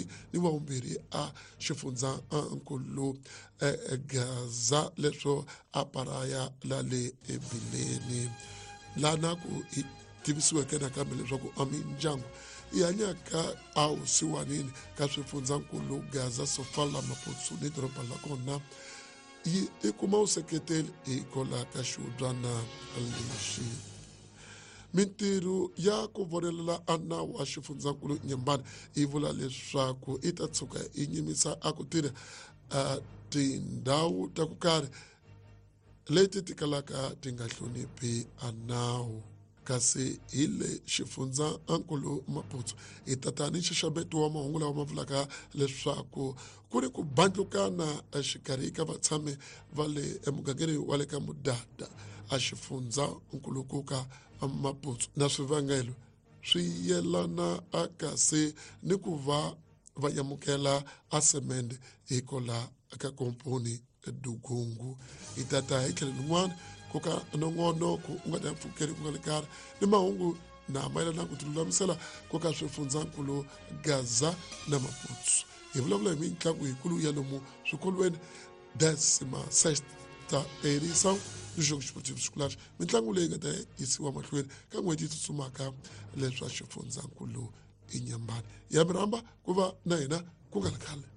vumbirhi ni wa vumbirhi a xifundzankulu Gaza leswo a paraya la le ebileni lana ku hi tivisiweke nakambe leswaku a mindyangu yi hanyaka awusiwanini ka swifundzankulu Gaza, Sofala, Maputsu ni doroba la kona yi i kuma vuseketeli hikwalaho ka xihubyana lexi. Mintirho ya ku vonelela a nawu wa xifundzankulu Nyembani yi vula leswaku i ta tshuka yi nyimisa a ku tirha tindhawu ta ku karhi leti ti kalaka ti nga hloniphi a nawu. Kasi hi le xifundzankulu Maputsu hi tata ni nxaxameto wa mahungu lawa ma vulaka leswaku ku ri ku bandlukana exikarhi ka vatshami va le emugangeni wa le ka Mudada a xifundzankulukuka Maputsu, na swivangelo swi yelana a kasi ni ku va va amukela a semende hikola ka komponi Dugungu. Hi tata hi tlhelo rin'wana ku ka nongonoko u nga ta mpfukeli ku nga le karhi ni mahungu na mayelana ku tilulamisela ku ka swifundzankulu Gaza na Maputsu. Hi vulavula hi mitlangu yikulu ya lomu swikolweni, décima sexta edição do Jogo Esportivo Escolares, mitlangu leyi nga ta yisiwa mahlweni ka n'hweti yi tsutsumaka leswa xifundzankulu Inyambani. Ya mi rhamba ku va na hina ku nga ri khale.